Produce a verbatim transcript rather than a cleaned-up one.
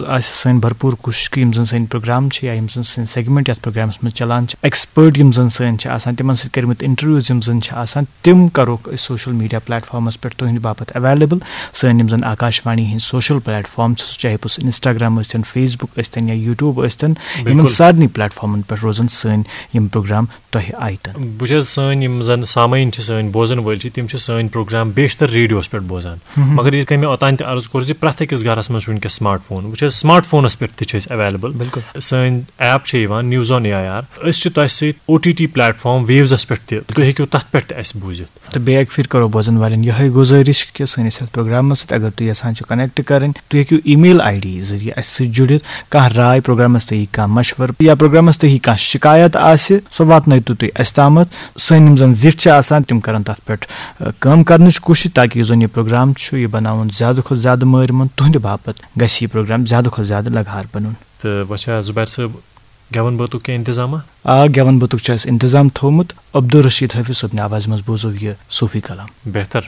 آسہِ سٲنۍ بھرپوٗر کوٗشِش کہِ یِم زَن سٲنۍ پروگرام چھِ یا یِم زَن سٲنۍ سیگمنٹ یَتھ پروگرامَس منٛز چلان چھِ، ایکسپٲرٹ یِم زَن سٲنۍ چھِ آسان، تِمَن سۭتۍ کٔرمٕتۍ انٹرویوز یِم زَن چھِ آسان، تِم کَرہوکھ أسۍ سوشل میٖڈیا پلیٹ فارمَس پٮ۪ٹھ تُہٕنٛدِ باپَتھ ایویلیبل۔ سٲنۍ یِم زَن آکاشوانی ہِنٛدۍ سوشل پلیٹ فارم چھِ، سُہ چاہے پوٚز انسٹاگرام ٲسۍتَن، فیس بُک ٲسۍتَن یا یوٗٹیوٗب ٲسۍتَن، یِمَن بِلکُل۔ سارنٕے پلیٹ فارمَن پٮ۪ٹھ روزَن سٲنۍ یِم پروگرام تۄہہِ آیتَن۔ بہٕ چھَس سٲنۍ یِم زَن سامعیٖن چھِ، سٲنۍ بوزَن وٲلۍ چھِ، تِم چھِ سٲنۍ پروگرام بیشتر ریڈیوَس پٮ۪ٹھ بوزان۔ مگر یِتھ کٔنۍ مےٚ اوٚتام تہِ عرض کوٚر زِ پرٛٮ۪تھ أکِس گَرَس منٛز چھُ وٕنکیٚس سمارٹ فون۔ وٕچھ حظ، سمارٹ فونَس پٮ۪ٹھ تہِ چھِ أسۍ ایویلیبل۔ بِلکُل۔ سٲنۍ ایپ چھِ یِوان news on A I R. أسۍ چھِ تۄہہِ سۭتۍ O T T platform ویوزَس پٮ۪ٹھ تہِ، تُہۍ ہیٚکِو تَتھ پٮ۪ٹھ تہِ اَسہِ بوٗزِتھ۔ تہٕ بیٚیہِ اَکہِ پھِرِ کَرو بوزَن والٮ۪ن یِہوٚے گُزٲرِش کہِ سٲنِس یَتھ پروگرامَس سۭتۍ اگر تُہۍ یَژھان چھِو کنیکٹ کَرٕنۍ، تُہۍ ہیٚکِو ای میل آئی ڈی ذٔریعہٕ اَسہِ سۭتۍ جُڑِتھ۔ کانٛہہ راے پروگرامَس تُہۍ کانٛہہ مشوَرٕ یا پروگرامَس تُہۍ کانٛہہ شِکایت آسہِ، سۄ واتنٲیتو تُہۍ اَسہِ تامَتھ۔ سٲنۍ یِم زَن زِٹھۍ چھِ آسان، تِم کَرَن تَتھ پٮ۪ٹھ، ٲ، کٲم کَرنٕچ کوٗشِش تاکہِ یُس زَن یہِ پروگرام چھُ، یہِ بَناوُن زیادٕ کھۄتہٕ زیادٕ مٲرۍ مۄنٛد۔ تُہٕنٛدِ باپَتھ گژھِ یہِ پروگرام زیادٕ کھۄتہٕ زیادٕ لَگہار بَنُن۔ تہٕ وۄنۍ چھا زُبیر صٲب گٮ۪وَن بٲتُک کینٛہہ انتظامہ؟ آ، گٮ۪وَن بٲتُک چھُ اَسہِ انتظام تھوٚومُت۔ عبدالرشید حٲفظ صٲبنہِ آوازِ منٛز بوزو یہِ صوٗفی کلام۔ بہتر۔